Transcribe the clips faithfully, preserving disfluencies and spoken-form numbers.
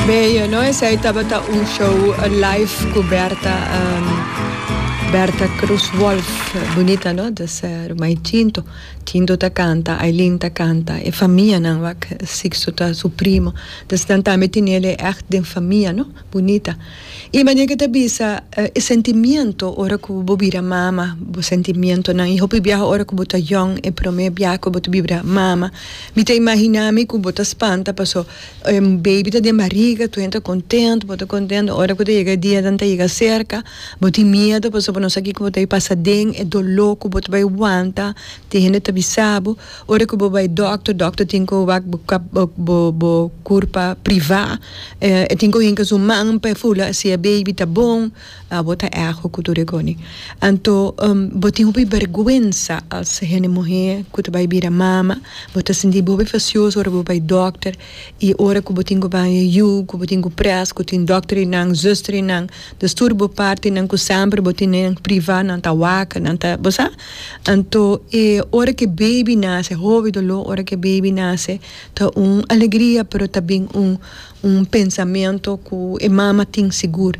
Bello, no? Esey tabata un show live cu Berta, um, Berta Cruz Wolf. Bunita, no? Dus uh, Tinto. Tinto ta canta, Aileen ta canta, e famianan, wak, Sixto ta su primo. Dus dan tambe tin e echt den famia, no? Bunita. Y manera cu ta bisa, uh, e sentimento ora cu bo bira mama, bo sentimentonan, y hopi biaha ora cu bo ta jong, e prome biaha cu bo ta bira mama. Mi ta imagina mi cu bo ta spanta, paso un baby ta den barriga, tur ta contento, bo ta contento, ora cu yega dia dan ta yega cerca, bo tin miedo, paso bo no sa kico bo ta pasa den, e dolor cu bo ta bay wanta, tin hende ta bisa bo, ora cu bo bay doctor, doctor tin cu wak bo bo bo curpa priva, eh, tin cu hinca su man pa fula si e baby ta bon, abo ta ergo cu tur coni. Anto um, bo tin hopi berguensa als hende muher cu ta bay bira mama, bo ta sinti hopi fastioso ora bo bay doctor y ora cu bo tin cu bay yu, cu bo tin cu pres, cu tin doctor nan, zuster nan, dus tur bo partinan cu semper bo tin nan priva nan ta wak, nan ta, bo sa? Anto e ora cu baby nace, hopi dolor, ora cu baby nace, ta un alegria, pero tambe un un pensamento cu e mama tin sigur.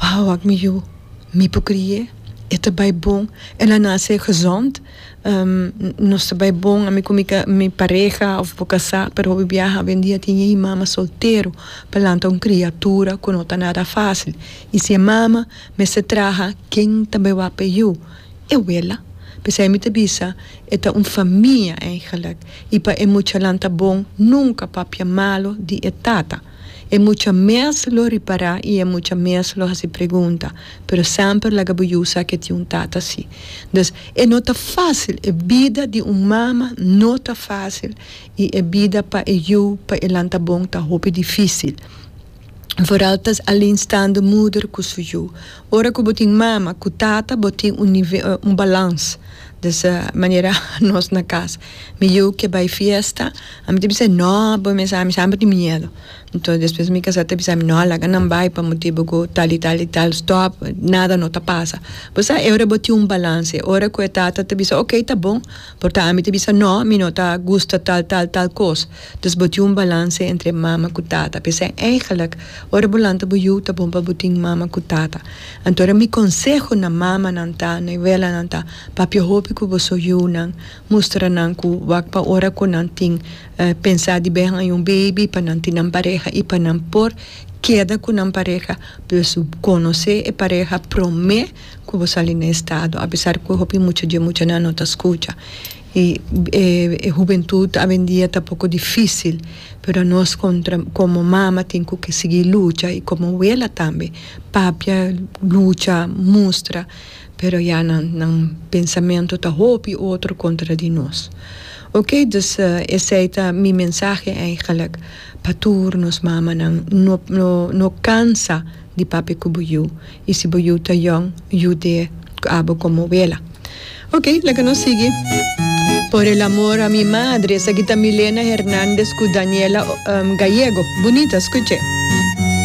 Wow, wak mi yu, mi por cri'e, e ta bay bon, el a nace gezond, um, nos ta bay bon, ami cu mi, mi pareha of bo casa, pero hopi biaha awendia tin mama soltero, pa lanta un criatura cu no ta nada facil. Y si e mama mester traha, ken ta bay wak e yu? E wela. Pesey mi ta bisa, e ta un famia eigenlijk. Y pa e mucha lanta bon, nunca papia malo di e tata. E mucha mes lo ripara y e mucha mes lo haci pregunta. Pero semper laga bo yu sa cu tin un tata si. Dus e no ta facil, e bida di un mama no ta facil. Y e bida pa e yu, pa e lanta bon, ta hopi dificil. Vooral tas alleenstaande moeder cu su yu. Ora cu bo tin mama, cu tata, bo tin un nivel, un balans. Dus uh, manera nos na cas. Mi yu kier bay fiesta, ami ta bisa no, bo mi sa, mi semper tin miedo. Anto despues mi casa ta bisa no, laga nan bay pa motibo cu tal y tal y tal, stop, nada no ta pasa. Bo sa, ora bo tin un balans, ora cu tata ta bisa, ok, ta bon, por ta ami ta bisa no, mi no ta gusta tal tal tal cos. Dus bo tin un balans entre mama cu tata. Pesey eigenlijk, ora bo lanta bo yu ta bon pa bo tin mama cu tata. Anto mi conseho na mamanan ta, na welanan ta, papia hopi cu boso yunan, mustra nan cu wak pa ora cu nan tin uh, pensa di bin un baby pa nan tin nan pareha y pa nan por keda cu nan pareha, pues conoce e pareha prome cu bo sali na estado, apesar cu hopi mucho di mucha nan no ta scucha. Y eh, e hubentud awendia ta poco dificil, pero nos contra, como mama tin cu sigui lucha y como wela tambe, papia lucha, mustra, pero ya nan, nan pensamento ta hopi otro contra di nos. Ok, dus uh, esey ta mi mensahe eigenlijk pa tur nos mamanan no no no cansa di papia cu bo yu y si bo yu ta jong yud'e abo como wela. Ok, laga nos sigui. Por el amor a mi madre, esaki ta Milena Hernández cu Daniela um, Gallego. Bunita, scucha.